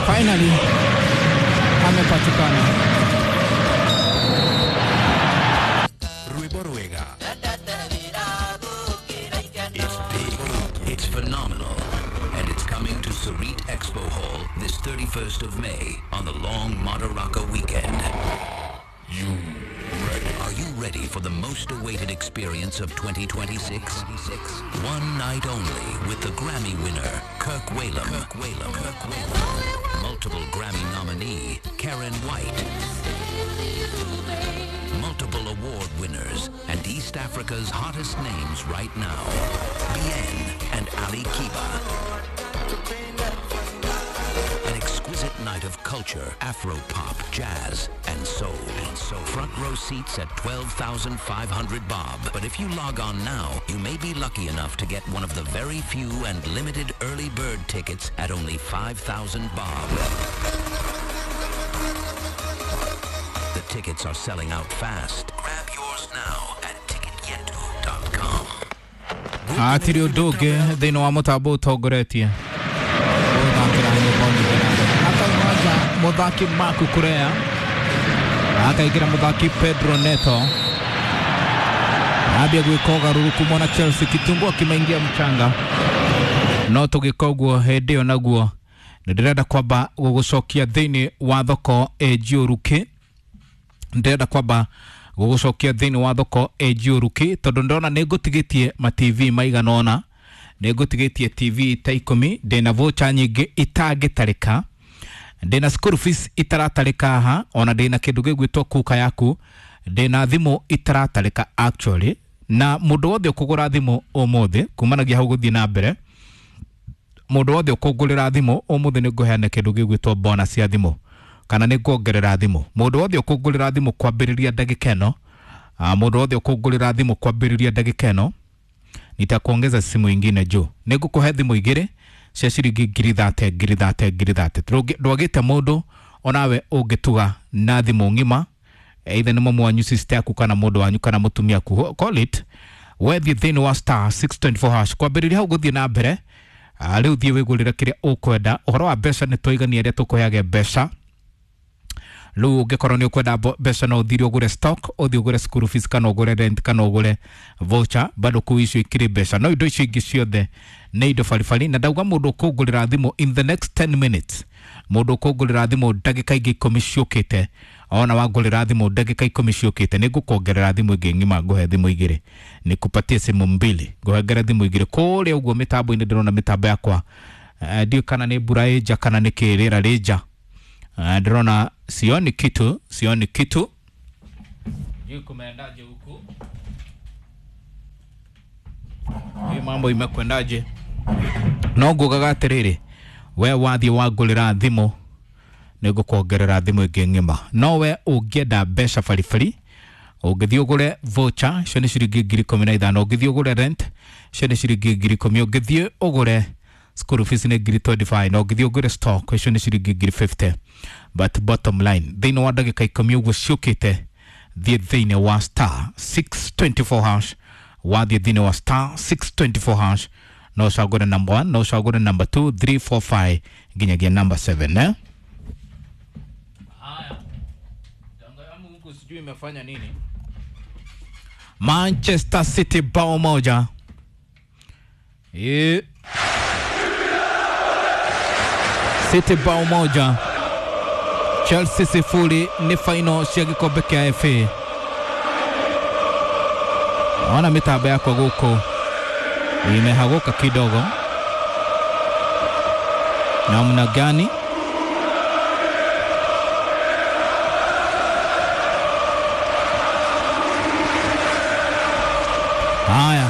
Finally amepatikana. Rwĩmbo rwega. It's big, it's phenomenal, and it's coming to Sarit Expo Hall this 31st of May on the long Madaraka weekend. You ready? Are you ready for the most awaited experience of 2026? One night only with the Grammy winner, Kirk Whalum. Kirk Whalum. Kirk Whalum. Multiple Grammy nominee, Karen White. Multiple award winners and East Africa's hottest names right now, Bien and Ali Kiba. An exquisite night of culture, Afro-pop, jazz, and soul. And so front row seats at 12,500 bob. But if you log on now, you may be lucky enough to get one of the very few and limited early bird tickets at only 5,000 bob. The tickets are selling out fast. Grab yours now at ticketyetu.com. Hatirĩ ũndũ ũngĩ thĩinĩ wa mũtambo ũtongoretie gũthakĩra nyũmba nyingĩ akauma nja mũthaki Marc Cucurella, akaingĩra mũthaki Pedro Neto, ambia gwĩka ũgarũrũku mwana Chelsea, kitungua kimeingia mchanga, no tũgĩka ũguo hĩndĩ ĩyo naguo nĩ ndĩrenda kwamba gũgũcokia thĩinĩ wa thoko ĩnjiũrũki, ndĩrenda kwamba gũgũcokia thĩinĩ wa thoko ĩnjiũrũki tondũ ndĩrona nĩ ngũtigĩtie ma TV maigana ũna, nĩ ngũtigĩtie TV ta 10, ndĩna voucher nyingĩ itangĩtarĩka, ndĩna school fees itaratarĩka haha, ona ndĩna kĩndũ gĩgwĩtwo kuka yaku, ndĩna thimũ itaratarĩka actually, na mũndũ wothe ũkũgũra thimũ ũmũthĩ kumanagia hau gũthiĩ na mbere, mũndũ wothe ũkũngũrĩra thimũ ũmũthĩ nĩ ngũheana kĩndũ gĩgwĩtwo bonus ya thimũ kana nĩ nguongerera thimũ. Mũndũ wothe ũkũngũrĩra thimũ kwambĩrĩria ndagĩka ĩno, mũndũ wothe ũkũngũrĩra thimũ kwambĩrĩria ndagĩka ĩno nitakuongeza simu ingine juu, nĩ ngũkũhe thimũ igĩrĩ cia ciringi 30,000 30,000 30,000. Ndwagĩte mũndũ onawe ũngĩtuga na thimũ ng'ima, either nĩ mamu wanyu, sister yaku, kana mũndũ wanyu, kana mũtumia aku, call it wethiĩ thĩinĩ wa star 624 hash kwambĩrĩria hau gũthiĩ na mbere. Rĩu thiĩ wĩgũrĩre kĩrĩa ũkwenda. Ũhoro wa mbeca nĩ twaigania arĩa tũkũheage mbeca. Rĩu ũngĩkorwo nĩ ũkwenda mbeca no ũthire ũgũre stock, ũthiĩ ũgũre school fees, kana ũgũre rent, kana ũgũre voucher, bado kũu icio ikĩrĩ mbeca, no indo icio ingĩ ciothe nĩ indo baribari. Na ndauga mũndũ ũkũngũrĩra thimũ in the next 10 minutes, mũndũ ũkũngũrĩra thimũ ndagĩka ingĩ 10 ciũkĩte, ona wangũrĩra thimũ ndagĩka 10 ciũkĩte nĩ ngũkuongerera thimũ ĩngĩ ng'ima, ngũhe thimũ igĩrĩ, nĩkupatie simu mbili, ngũhengere thimũ igĩrĩ kũrĩa ũguo mĩtambo-inĩ. Ndĩrona mĩtambo yakwa, ndiũĩ kana nĩ mbura ĩ nja kana nĩ kĩ rĩera rĩ nja. Ndĩrona sioni kitu, sioni kitu. Sijui kumeendaje huku, hii mambo imekwendaje? No ngugaga atĩrĩrĩ, we wathiĩ wangũrĩra thimũ nĩ ngũkuongerera thimũ ĩngĩ ng'ima. No we ũngĩenda mbeca baribari, ũngĩthiĩ ũgũre voucher icio nĩ ciringi 15,000, ũngĩthiĩ ũgũre rent icio nĩ ciringi 10,000, ũngĩthiĩ ũgũre school fees nĩ 25,000, na ũngĩthiĩ ũgũre stock icio nĩ ciringi 50,000. But bottom line, thĩinĩ wa ndagĩka 10 ũguo ciũkĩte, thiĩ thĩinĩ wa star 624 hash, wathiĩ thĩinĩ wa star 624 hash no ũcagũre number 1, no ũcagũre number 2, 3, 4, 5 nginyagia number 7, eh? Haya, huku sijui imefanya nini. Manchester City bao moja. City bao moja, Chelsea 0, nĩ final cia gĩkombe kĩa FA. Ona mĩtambo yakwa gũkũ imehaguka kidogo, namna gani? Haya.